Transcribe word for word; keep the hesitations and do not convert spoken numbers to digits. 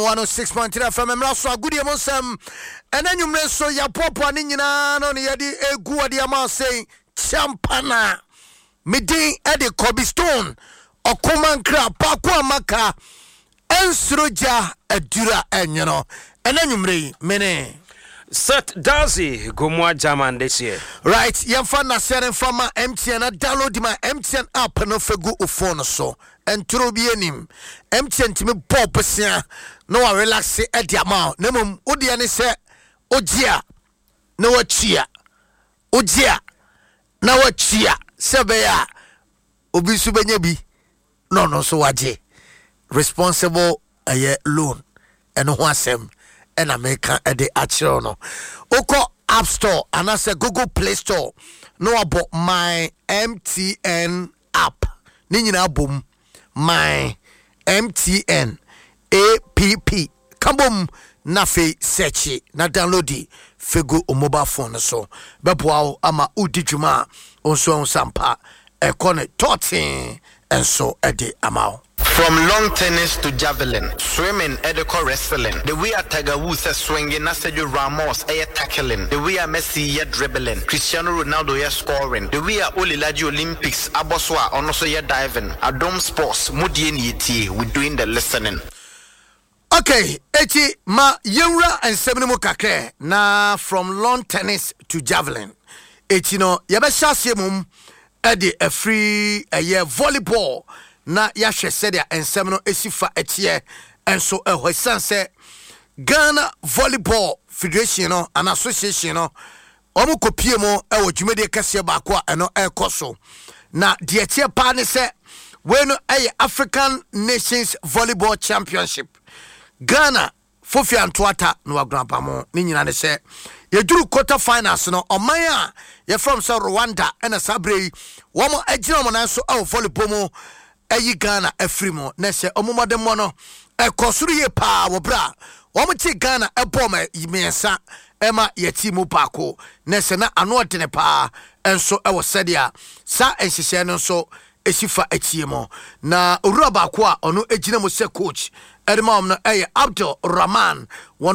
one oh six point three F M, mmara so agodie mu nsɛm. Ɛna nwummerɛ nso yɛapoapoa ne nyinaa no ne yɛde egu wɔde ama sɛn champana. Medin ɛde Kobe Stone ɔkomankra paako a maka ɛnsoro gya aduru a ɛnwono. Ɛna nwummerɛ yi mene Seth Darcy Gomua German this year. Right, yɛmfa nnaseɛ no mfa ma M T N na download ma M T N app no fa gu wo phone so. Ɛntoro bi anim, M T N tumi bɔ bosea na wa relax ɛde ama wo, na mmom wodeɛ ne sɛ wogye a na wakyia, wogye a na wakyia, sɛ ɛbɛyɛ a obi nso bɛnya bi na ɔno nso wagye. Responsible ɛyɛ loan, ɛno ho asɛm ɛna meka ɛde akyerɛw no. Wokɔ App Store anaasɛ Google Play Store na wabɔ My M T N app ne nyinaa bom, My M T N app ka bom, na afei search na download fegu o mobile phone no so. Bɛboa wo ama wodi dwuma a wo nso ahu sampa ɛkɔ ne tɔɔtee nso ɛde ama wo. From long tennis to javelin, swimming, ɛde wrestling. The way a Tiger Woods is swinging, na Sergio Ramos ɛyɛ tackling. The way a Messi yɛ dribbling, Cristiano Ronaldo yɛ scoring. The way a Olilaji Olympics abɔ so a ɔno nso yɛ diving. Adom Sports, mudie ni etie, we doing the listening. Okay, eti ma yɛwura nsɛm no mu kakra na from lawn tennis to javelin. Eti no yɛbɛhyɛ aseɛ mom ɛde afiri ɛyɛ volleyball na yɛahwɛ sɛdeɛ nsɛm no esi fa ɛteɛ nso ɛhɔ, ɛsiane sɛ Ghana Volleyball Federation no ana association no wɔn kɔpie mu ɛwɔ dwumadie kɛseɛ baako a ɛno ɛrekɔ so. Na deɛ ɛteɛ paa ne sɛ wei no ɛyɛ African Nations Volleyball Championship. Ghana fofi antoata na wagunapamo ne nyina ne sɛ yɛduru quarter finals no, ɔman a yɛfrɛ sɛ Rwanda ɛna saa berɛ yi wɔn agyina wɔn nan so ɛwɔ volleyball mu ɛyi Ghana afiri mu. Na sɛ ɔmo mmɔdemmɔ no ɛkɔ soro yie paa wɔ berɛ a wɔn te Ghana ɛbɔɔ ma mmiɛnsa ɛma yɛti mu baako, na sɛ na ano ɔdene paa ɛnso ɛwɔ sɛdeɛ saa nhyehyɛɛ no nso ɛsi fa akyie mu. Na owura baako a ɔno gyina mu sɛ coach ɛde ma wɔn no ɛyɛ Abdul Rahman. Wɔn